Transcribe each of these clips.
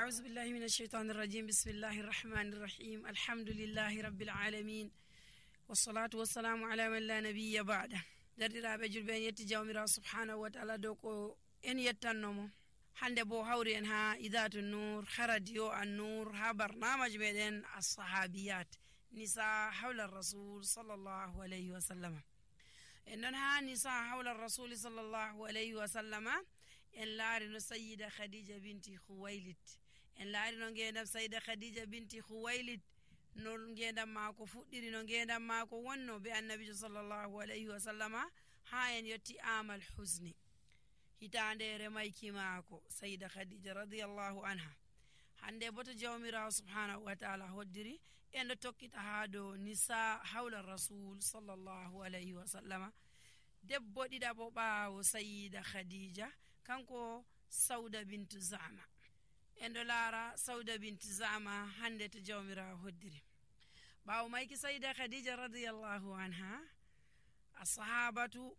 أعوذ بالله من الشيطان الرجيم. بسم الله الرحمن الرحيم. الحمد لله رب العالمين والصلاة والسلام على من لا نبي بعده. درdiraaɓe julɓe en yetti jawmirawo subhanahu wa taala dow ko en yettannomo hande bo hawri en ha idatu nur ha radio an nur ha barnamaji meɗen assahabiyat nisa hawla rasul sallallahu alayhi wa sallama. en ɗon ha nisa hawla rasuli sallallahu alayhi wa sallama en laari no sayyida khadija binti khuwaylid. en laari no ngendam sayyida khadija binti khuwaylid no ngendam maako fuɗɗiri, no ngendam maako wonno be annabijo sallallahu alayhi wa sallama ha en yetti amal husni, hitande remayki maako sayyida khadija radiyallahu anha. hande boto jawmirawo subhanahu wa taala hoddiri en ɗo tokkita ha dow nisa hawla rasul sallallahu alayhi wa sallama. debbo ɗiɗaɓo ɓaawo sayyida khadija kanko sauda bintu zama. en ɗo laara sauda bintu zama hande to jawmirawo hoddiri. ɓaawo mayki sayyida khadija radiyallahu anha, assahabatu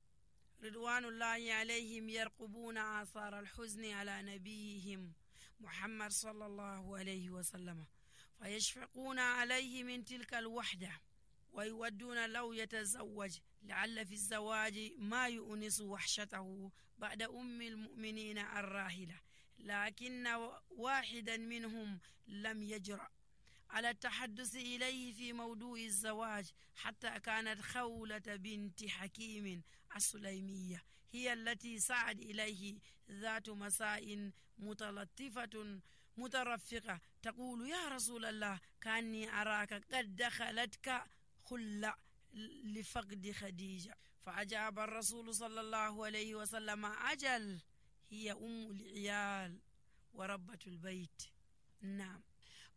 ridwanullahi alayhim yarqubuna athara alhuzni ala nabiyihim محمد صلى الله عليه وسلم فيشفقون عليه من تلك الوحدة ويودون لو يتزوج لعل في الزواج ما يؤنس وحشته بعد أم المؤمنين الراحلة، لكن واحدا منهم لم يجرأ على التحدث إليه في موضوع الزواج حتى كانت خولة بنت حكيم السليمية هي التي سعد إليه ذات مساء متلطفة مترفقة تقول: يا رسول الله كأني أراك قد دخلتك خلة لفقد خديجة. فأجاب الرسول صلى الله عليه وسلم: أجل، هي أم العيال وربة البيت. نعم.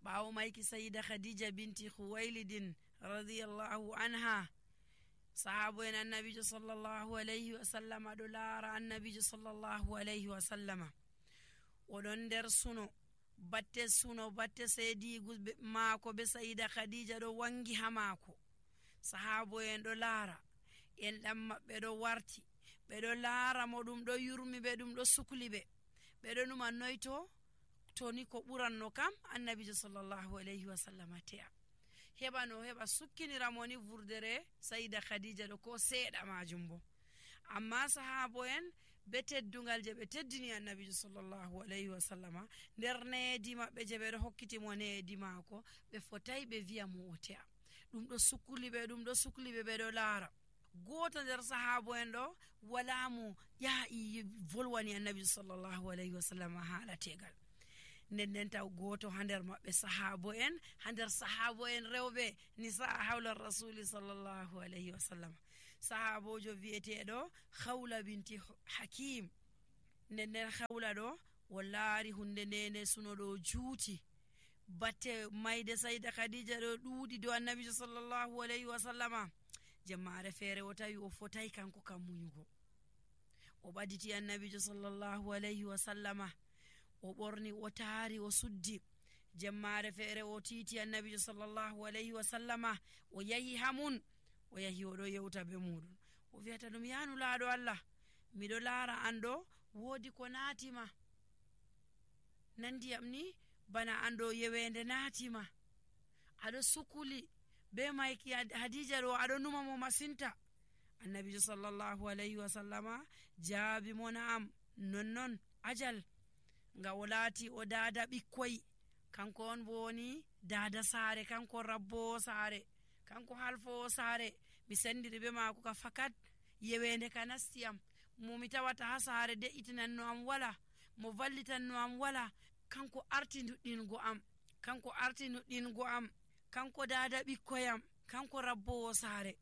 ɓaawo mayki sayida khadija binti khuwaylidin radiyallahu anha, sahabo en annabijo sallallahu alayhi wa sallama ɗo laara annabijo sallallahu alayhi wa sallama oɗon nder suno batte seedigu maako be sayida khadija ɗo wangi ha maako. sahabo en ɗo laara, en ɗam maɓɓe ɗo warti, ɓe ɗo laara mo, ɗum ɗo yurmi ɓe, ɗum ɗo sukli ɓe, ɓe ɗo numa noyto toni ko ɓuranno kam annabijo sallallahu alayhi wa sallama te'a heɓa no heɓa sukkiniramo ni vurdere sayida khadija ɗo ko seeɗa majum bo. amma sahabo en be teddungal je ɓe teddini annabijo sallallahu alayhi wa sallama nder needi maɓɓe je ɓe ɗo hokkitimo needi maako, ɓe fotai ɓe wiya mo o te'a. ɗum ɗo sukli ɓe, ɓe ɗo laara. goto nder sahabo en ɗo wala mo yahi volwani annabijo sallallahu alayhi wa sallama haala tegal. nden taw goto ha nder maɓɓe sahabo en rewɓe nisa hawla rasuli sallallahu alayhi wa sallam, sahabojo wiyeteɗo khawla binti hakim. nden khawla ɗo o laari hunde ndene suno ɗo juuti, batte mayde sayda khadija ɗo ɗuuɗi dow annabijo sallallahu alayhi wa sallama. jemmare feere o tawi o fotai kanko kam muñugo, o ɓaditi annabijo sallallahu alayhi wa sallama, o ɓorni, o taari, o suddi. jemmare feere o tiiti annabijo sallallahu alayhi wa sallama, o yahi hamun, o yahi oɗo yewta be muɗum, o wiyata ɗum: yanu laaɗo Allah, miɗo laara an ɗo woodi ko naatima, nandiyam ni bana an ɗo yewende naatima, aɗo sukuli be mayki hadija ɗo, aɗo numa mo masinta. annabijo sallallahu alayhi wa sallama jaabi mo: na'am, nonnon, ajal, nga o laati o daada ɓikkoy, kanko on bo woni daada saare, kanko rabbowo saare, kanko halfowo saare. mi sendiri be maako ka fakat yewende ka nastiyam, mo mi tawata ha saare de'itinanno am wala, mo vallitanno am wala, kanko arti nuɗɗingo am, kanko daada ɓikkoyam, kanko rabbowo saare.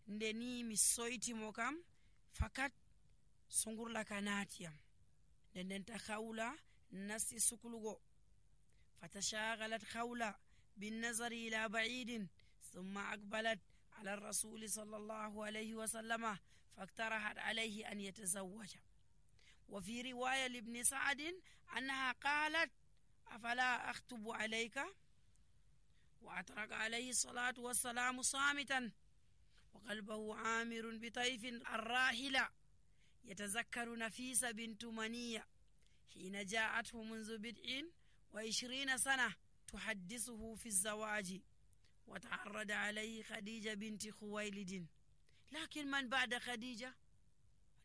nde ni mi soytimo kam fakat sungurla ka naatiyam. nden ta khawla nasti suklugo. fatashagalat khawla بالنظر إلى بعيد ثم أقبلت على الرسول صلى الله عليه وسلم فاقترحت عليه أن يتزوج. وفي رواية لابن سعد أنها قالت: أفلا أخطب عليك؟ وأترك عليه الصلاة والسلام صامتا وقلبه عامر بطيف الراحلة يتذكر نفيس بنت منية حين جاءته منذ بدء 20 سنة تحدثه في الزواج وتعرض عليه خديجة بنت خويلد لكن من بعد خديجة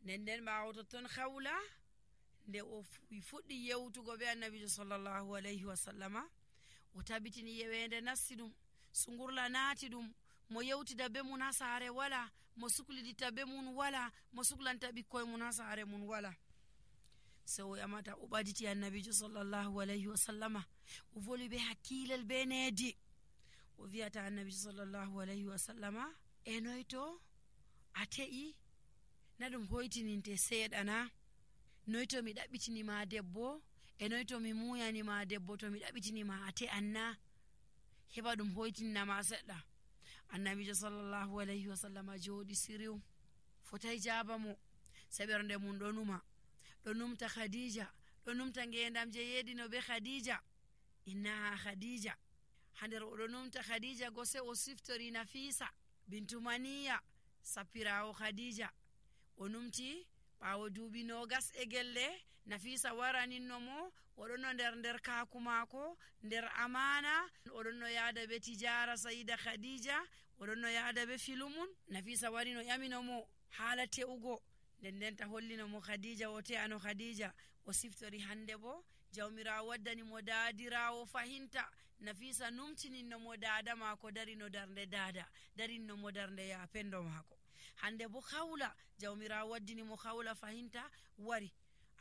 نندن باوتتون خولة nde o fuɗɗi yewtugo be annabijo sallallahu alayhi wa sallama o tabitini yewende nassi ɗum sungurla naati ɗum mo yewtida be mun ha saare wala mo suklidita be mun wala mo suklanta ɓikkoye mun ha saare mun wala so o yamata o ɓaditi annabijo sallallahu alayhi wa sallama o voli be hakkilel be needi o wiyata annabijo sallallahu alayhi wa sallama noyto a te'i na ɗum hoytininte seeɗana noyto mi ɗaɓɓitinima debbo noyto mi muyanima debbo to mi ɗaɓɓitinima a te'anna heɓa ɗum hoytinnama seɗɗa annabijo sallallahu alayhi wa sallama jooɗi siriw fotai jaaba mo saɓerde mum ɗo numa ɗo numta khadija ɗo numta ngendam je yeɗino be khadija innaha khadija ha nder oɗo numta khadija go se o siftori nafisa bintu maniya sappirawo khadija o numti ɓawo duuɓi nogas e gelle nafisa waraninno mo oɗonno nder kaku maako nder amana oɗonno yaada be tijara sayida khadija oɗonno yaada be filumun nafisa warino ƴamino mo haala te'ugo ndenta hollino mo khadija o te'ano khadija o siftori hande bo jawmirawo waddani mo daadirawo fahinta nafisa numtininno mo dada maako darino darnde dada darinno mo darnde ya pendo maako hande bo khawla jawmirawo waddini mo khawla fahinta wari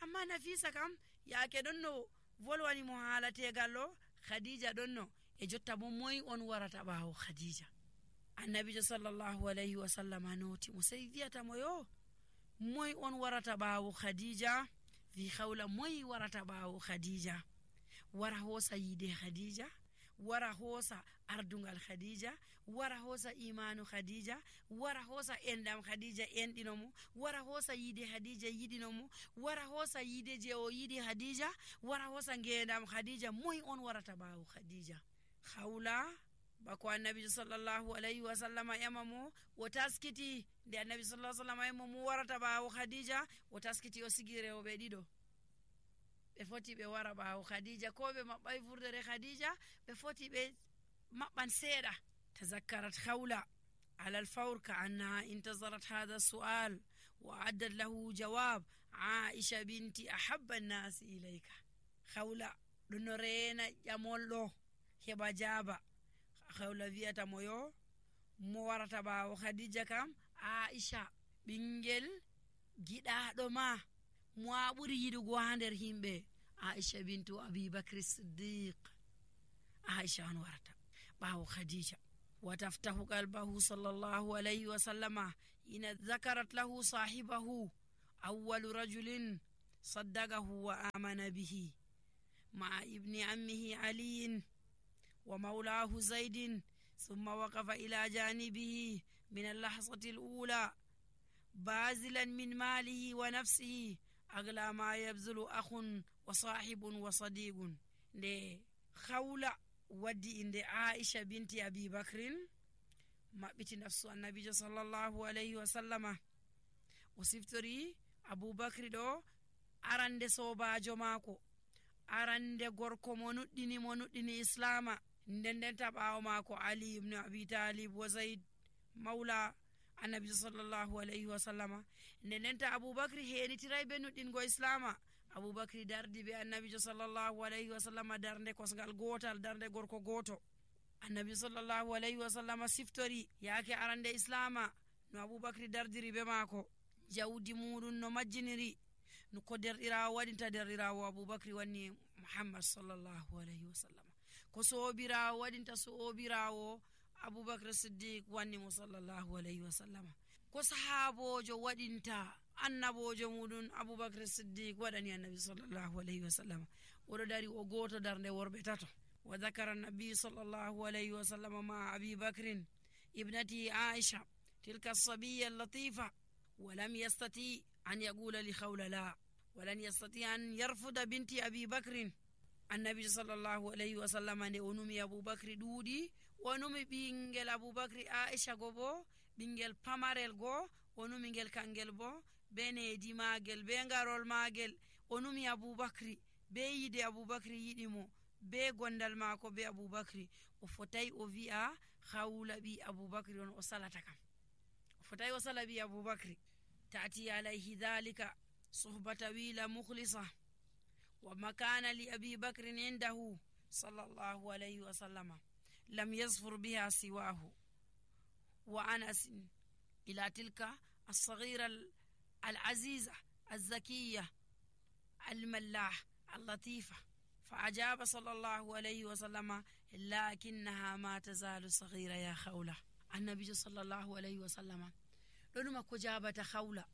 amma nafisa kam yaake ɗonno volwani mo haala tegal o khadija ɗonno e jotta bo moy on warata ɓawo khadija annabijo sallallahu alayhi wa sallama noti mo sey wiyata mo yo moy on warata ɓawo khadija wi khawla moy warata ɓawo khadija wara hosa yide khadija wara hosa ardungal khadija wara hosa imanu khadija wara hosa endam khadija endino mo wara hosa yide khadija yidino mo wara hosa yide je o yidi khadija wara hosa ngendam khadija moy on warata bawo khadija khawla bako annabi sallallahu alayhi wa sallama yamamo o taskiti de annabi sallallahu alayhi wa sallama yamamo mo warata bawo khadija o taskiti o sigire o be dido ɓe foti ɓe wara ɓawo khadija ko ɓe maɓɓay vurdere khadija ɓe foti ɓe maɓɓan seeɗa tazakkarat khawla على الفور كأنها انتظرت هذا السؤال وأعدت له جواب عائشة بنتي أحب الناس إليك خولة لنرينا يمولو هبا جابا خولة فيتا مويو موارتا باو خديجة كام عائشة بنجل جدا دوما موابوري يدو هاندر هيمبي عائشة بنت أبي بكر الصديق عائشة أنورتا باو خديجة وتفتح قلبه صلى الله عليه وسلم إن ذكرت له صاحبه أول رجل صدقه وآمن به مع ابن عمه علي ومولاه زيد ثم وقف إلى جانبه من اللحظة الأولى باذلا من ماله ونفسه أغلى ما يبذل أخ وصاحب وصديق خولة waddi inde Aisha binti Abi Bakrin maɓɓiti nafsu annabijo sallallahu alayhi wa sallama o siftori Abu Bakri ɗo arande sobajo maako arande gorko mo nuɗɗini islama nden ɓawo maako Ali ibn Abi Talib wa Zaid mawla annabijo sallallahu alayhi wa sallama nden Abu Bakri henitiray be nuɗɗingo islama Abu Bakri dardi be annabijo sallallahu alayhi wa sallama darnde kosgal gotal darnde gorko goto annabi sallallahu alayhi wa sallama siftori yaake arande islama no Abu Bakri dardiri be maako jawdi muɗum no majjiniri no ko derɗirawo waɗinta derɗirawo Abu Bakri wanni Muhammad sallallahu alayhi wa sallama ko sobirawo waɗinta sobirawo Abu Bakr Siddiq wanni mo sallallahu alayhi wa sallama ko sahabojo waɗinta annabojo muɗum Abubakar Siddiq waɗani annabi sallallahu alayhi wa sallam oɗo dari o goto darnde worɓe tato wa dhakara nabi sallallahu alayhi wa sallam ma Abi Bakrin ibnati Aisha tilka as-sabiyya al-latifa wa lam yastati an yaqula li khawla la wa lan yastati an yarfuda binti Abi Bakrin annabi sallallahu alayhi wa sallam ne onumi Abu Bakri ɗuuɗi onumi ɓingel Abu Bakri Aisha go bo ɓingel pamarel go onumi ngel kangel bo be needi magel be ngarol magel onumi Abubakri be yide Abubakri yiɗimo be gondal maako be Aboubacry o fotai o wi'a hawla bi Aboubacry on o salata kam o fotai o sala bi Aboubacry ta'ti alayhi dhalika suhbata wila mukhlisa wa makana li Abi Bakr indahu sallallahu alayhi wa sallama lam yazfur biha siwahu wa Anas ila tilka الصغيرة العزيزة الزكية الملاح اللطيفة فأجاب صلى الله عليه وسلم لكنها ما تزال صغيرة يا خولة. النبي صلى الله عليه وسلم لنما كجابة خولة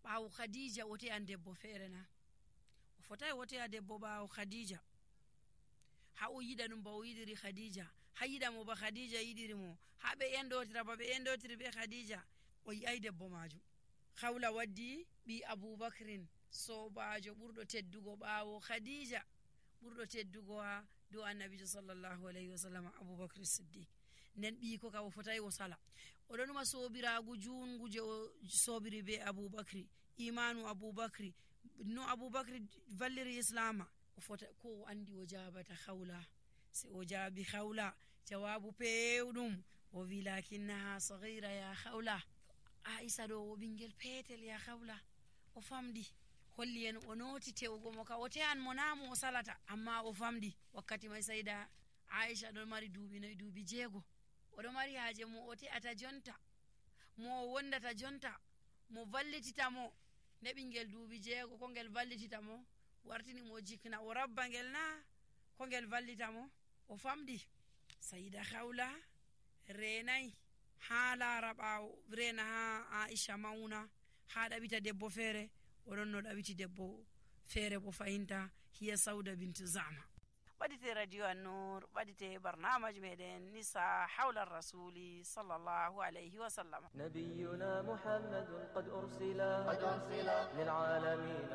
باو خديجة وتي أن دبو فيرنا وفتاي وتي دبو باو خديجة هاو يدا نمبو يدري خديجة هيدا مو بخديجة يدري مو هابي يندوتر بابي يندوتر بي خديجة وي أي دبو ماجو خولة ودي بي أبو بكر sobajo ɓurɗo teddugo ɓaawo khadija ɓurɗo teddugo ha dow annabijo sallllahu alayhi wa sallam Aboubacry Siddiq. nden ɓii ko ka o fotai o sala oɗon numa sobiragu jungu je o sobiri be Aboubacry imanu Aboubacry no Aboubacry valliri islama o fota ko o andi o jabata hawla se o jaabi hawla jawabu pewɗum o wi lakinnaha saghira ya hawla Aisha ɗo o ɓingel petel ya hawla o famɗi holli en o noti tewugo mo ka o te'an mo namu o salata amma o famdi wakkati mai sayda Aisha ɗon mari duuɓi noyi duuɓi 6 oɗo mari haaje mo o te'ata jonta mo o wondata jonta mo vallitita mo ne ɓingel duuɓi 6 ko ngel vallitita mo wartini mo jikna o rabba ngel na ko ngel vallita mo o famdi sayda hawla renai ha laara ɓaawo rena ha Aisha mauna ha ɗaɓita debbo feere oɗon no ɗaɓiti debbo feere bo fahinta hiya Sauda bintu Zama. ɓadite radio An-Nur ɓadite barnamaji meɗen nisa hawla rasuli sallallahu alayhi wa sallam. نبينا محمد قد أرسل للعالمين